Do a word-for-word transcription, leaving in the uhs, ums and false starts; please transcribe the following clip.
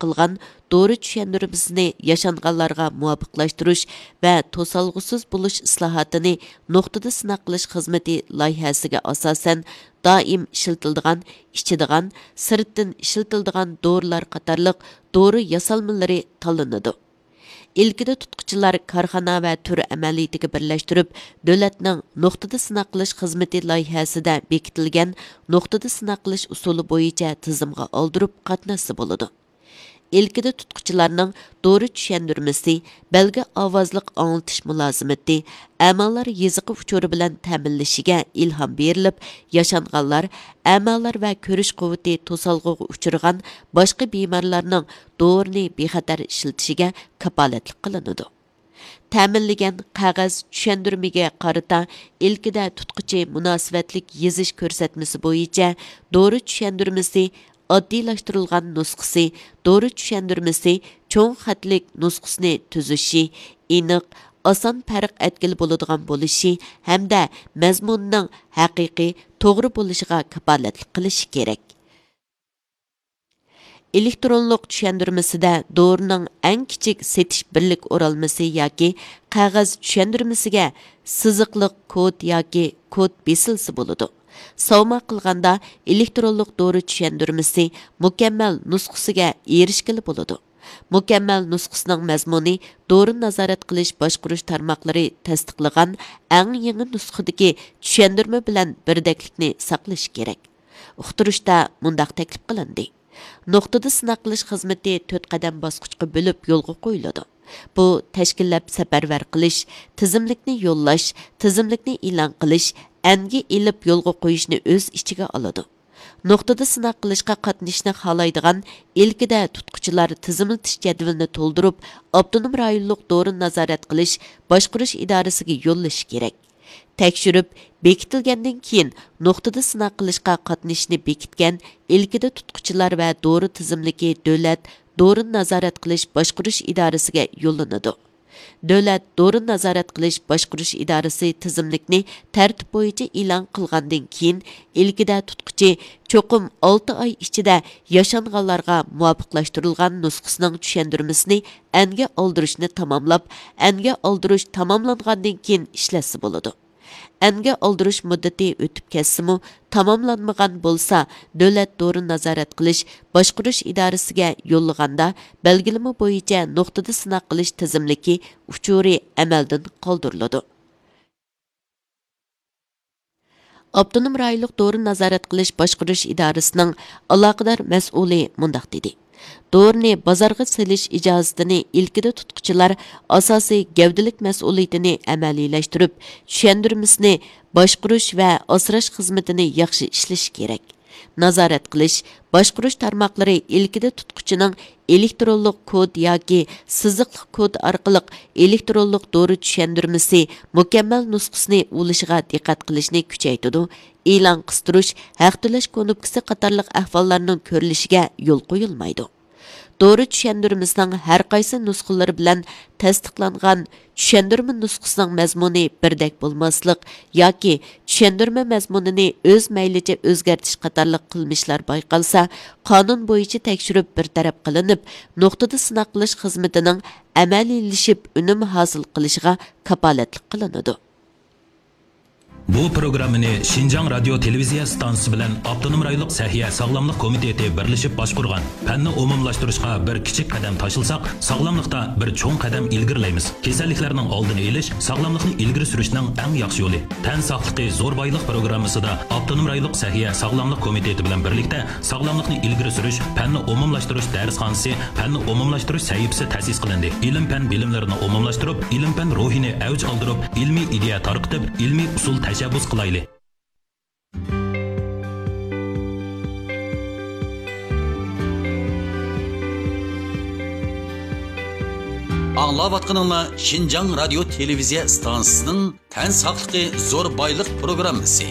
قىلغان دورا چۈشەندۈرمىسىنى ياشانغانلارغا مۇۋاپىقلاشتۇرۇش ۋە توسالغۇسىز بولۇش ئىسلاھاتىنى نۇقتىدا سىناق قىلىش خىزمىتى لايىھەسىگە ئاساسەن، دائىم ئىشلىتىلىدىغان، ئىچىدىغان، سىرتتىن ئىشلىتىلىدىغان دورىلار قاتارلىق دورا ياسالمىلىرى تاللىنىدۇ. ئىلكىدە تۇتقۇچىلار كارخانا ۋە تۈر ئەمەلىيىتىگە بىرلەشتۈرۈپ، دۆلەتنىڭ نۇقتىدا سىناق قىلىش خىزمىتى لايىھەسىدە بېكىتىلگەن نۇقتىدا سىناق قىلىش ئۇسۇلى بويىچە تىزىمغا ئالدۇرۇپ قاتناشسا بولىدۇ. ئىلكىدە تۇتقۇچىلارنىڭ دورا چۈشەندۈرمىسى، بەلگە ئاۋازلىق ئاڭلىتىش مۇلازىمىتى، ئەمالار يېزىقى ئۇچۇرى بىلەن تەمىنلىشىگە ئىلھام بېرىلىپ، ياشانغانلار، ئەمالار ۋە كۆرۈش قۇۋۋىتى توسالغۇغا ئۇچرىغان باشقا بىمارلارنىڭ دورىنى بىخەتەر ئىشلىتىشىگە كاپالەتلىك قىلىنىدۇ. تەمىنلىگەن قەغەز چۈشەندۈرمىگە قارىتا ئىلكىدە تۇتقۇچى مۇناسىۋەتلىك يېزىش كۆرسەتمىسى بويىچە دورا چۈشەندۈرمىسى، ئاددىيلاشتۇرۇلغان نۇسخىسى، دورا چۈشەندۈرمىسى، چوڭ خەتلىك نۇسخىسىنى تۈزۈشى، ئېنىق، ئاسان پەرق ئەتكىلى بولىدىغان بولۇشى ھەمدە مەزمۇنىنىڭ ھەقىقىي، توغرا بولۇشىغا كاپالەتلىك قىلىشى كېرەك. ئېلېكترونلۇق چۈشەندۈرمىسىدە دورىنىڭ ئەڭ كىچىك سېتىش بىرلىك ئورالمىسى ياكى قەغەز چۈشەندۈرمىسىگە سىزىقلىق كود ياكى كود بېسىلسا بولىدۇ. ساۋما قىلغاندا ئېلېكترونلۇق دورا چۈشەندۈرمىسى مۇكەممەل نۇسخىسىگە ئېرىشكىلى بولىدۇ. مۇكەممەل نۇسخىسىنىڭ مەزمۇنى دورىنى نازارەت قىلىش باشقۇرۇش تارماقلىرى تەستىقلىغان ئەڭ يېڭى نۇسخىدىكى چۈشەندۈرمە بىلەن بىردەكلىكنى ساقلىشى كېرەك. ئۇقتۇرۇشتا مۇنداق تەكلىپ قىلىندى: نۇقتىدا سىناق قىلىش خىزمىتى تۆت قەدەم باسقۇچقا بۆلۈپ يولغا قويۇلىدۇ. بۇ تەشكىللەپ سەپەرۋەر قىلىش، تىزىملىكنى يوللاش، تىزىملىكنى ئېلان قىلىش، ئەنگە ئېلىپ يولغا قويۇشنى ئۆز ئىچىگە ئالىدۇ. نۇقتىدا سىناق قىلىشقا قاتنىشىشنى خالايدىغان ئىلكىدە تۇتقۇچىلار تىزىملىتىش جەدۋىلىنى تولدۇرۇپ، ئاپتونوم رايونلۇق دورىنى نازارەت قىلىش باشقۇرۇش ئىدارىسىگە يوللىشى كېرەك. تەكشۈرۈپ بېكىتىلگەندىن كېيىن، نۇقتىدا سىناق قىلىشقا قاتنىشىشنى بېكىتكەن ئىلكىدە تۇتقۇچىلار ۋە دورا تىزىملىكى دۆلەت دورىنى نازارەت قىلىش باشقۇرۇش ئىدارىسىگە يوللىنىدۇ. دۆلەت دورىنى نازارەت قىلىش باشقۇرۇش ئىدارىسى تىزىملىكنى تەرتىپ بويىچە ئېلان قىلغاندىن كېيىن، ئىلكىدە تۇتقۇچى چوقۇم ئالتە ئاي ئىچىدە ياشانغانلارغا مۇۋاپىقلاشتۇرۇلغان نۇسخىسىنىڭ چۈشەندۈرمىسىنى ئەنگە ئالدۇرۇشنى تاماملاپ، ئەنگە ئالدۇرۇش تاماملانغاندىن كېيىن ئىشلەتسە بولىدۇ. ئەنگە ئالدۇرۇش مۇددىتى ئۆتۈپ كەتسىمۇ، تاماملانمىغان بولسا، دۆلەت دورىنى نازارەت قىلىش باشقۇرۇش ئىدارىسىگە يوللىغاندا، بەلگىلىمە بويىچە نۇقتىدا سىناق قىلىش تىزىملىكى ئۇچۇرى ئەمەلدىن قالدۇرۇلىدۇ. ئاپتونوم رايونلۇق دورىنى نازارەت قىلىش باشقۇرۇش ئىدارىسىنىڭ ئالاقىدار مەسئۇلى مۇنداق دېدى: دورىنى بازارغا سېلىش ئىجازىتىنى ئىلكىدە تۇتقۇچىلار ئاساسىي گەۋدىلىك مەسئۇلىيىتىنى ئەمەلىيلەشتۈرۈپ، چۈشەندۈرمىسىنى باشقۇرۇش ۋە ئاسراش خىزمىتىنى ياخشى ئىشلىشى كېرەك. نازارەت قىلىش، باشقۇرۇش تارماقلىرى ئىلكىدە تۇتقۇچىنىڭ ئېلېكترونلۇق كود ياكى سىزىقلىق كود ئارقىلىق ئېلېكترونلۇق دورا چۈشەندۈرمىسى مۇكەممەل نۇسخىسىنى ئۇلىشىغا دىققەت قىلىشنى كۈچەيتىدۇ، ئېلان قىستۇرۇش، ھەق تۆلەش كۇنۇپكىسى قاتارلىق ئەھۋاللارنىڭ كۆرۈلۈشىگە يول قويۇلمايدۇ. دورا چۈشەندۈرمىسىنىڭ ھەر قايسى نۇسخىلىرى بىلەن تەستىقلانغان چۈشەندۈرمە نۇسخىسىنىڭ مەزمۇنى بىردەك بولماسلىق ياكى چۈشەندۈرمە مەزمۇنىنى ئۆز مەيلىچە ئۆزگەرتىش قاتارلىق قىلمىشلار بايقالسا، قانۇن بويىچە تەكشۈرۈپ بىر تەرەپ قىلىنىپ، نۇقتىدا سىناق قىلىش خىزمىتىنىڭ ئەمەلىيلىشىپ ئۈنۈم ھاسىل قىلىشىغا كاپالەتلىك قىلىنىدۇ. بۇ پروگراممىنى شىنجاڭ رادىيو تېلېۋىزىيە ئىستانسىسى بىلەن ئاپتونوم رايونلۇق سەھىيە ساغلاملىق كومىتېتى بىرلىشىپ باشقۇرغان. پەننى ئومۇملاشتۇرۇشقا بىر كىچىك قەدەم تاشلىساق، ساغلاملىقتا بىر چوڭ قەدەم ئىلگىرىلەيمىز. كېسەللىكلەرنىڭ ئالدىنى ئېلىش، ساغلاملىقنى ئىلگىرى سۈرۈشنىڭ ئەڭ ياخشى يولى. تەن ساقلىقى زور بايلىق پروگراممىسىدا ئاپتونوم رايونلۇق سەھىيە ساغلاملىق كومىتېتى بىلەن بىرلىكتە ساغلاملىقنى ئىلگىرى سۈرۈش، پەننى ئومۇملاشتۇرۇش دەرسخانىسى، پەننى ئومۇملاشتۇرۇش سەھىپىسى تەسىس قىلىندى. ئىلىم-پەن بىلىملىرىنى ئومۇملاشتۇرۇپ، ئىلىم-پەن روھىنى ئەۋج ئالدۇرۇپ، ئىلمىي ئىدىيە تارقىتىپ، ئىلمىي ئۇسۇل تەشەببۇس قىلايلى. ئاڭلاۋاتقىنىڭلار شىنجاڭ رادىيو تېلېۋىزىيە ئىستانسىسىنىڭ تەن ساقلىقى زور بايلىق پروگراممىسى.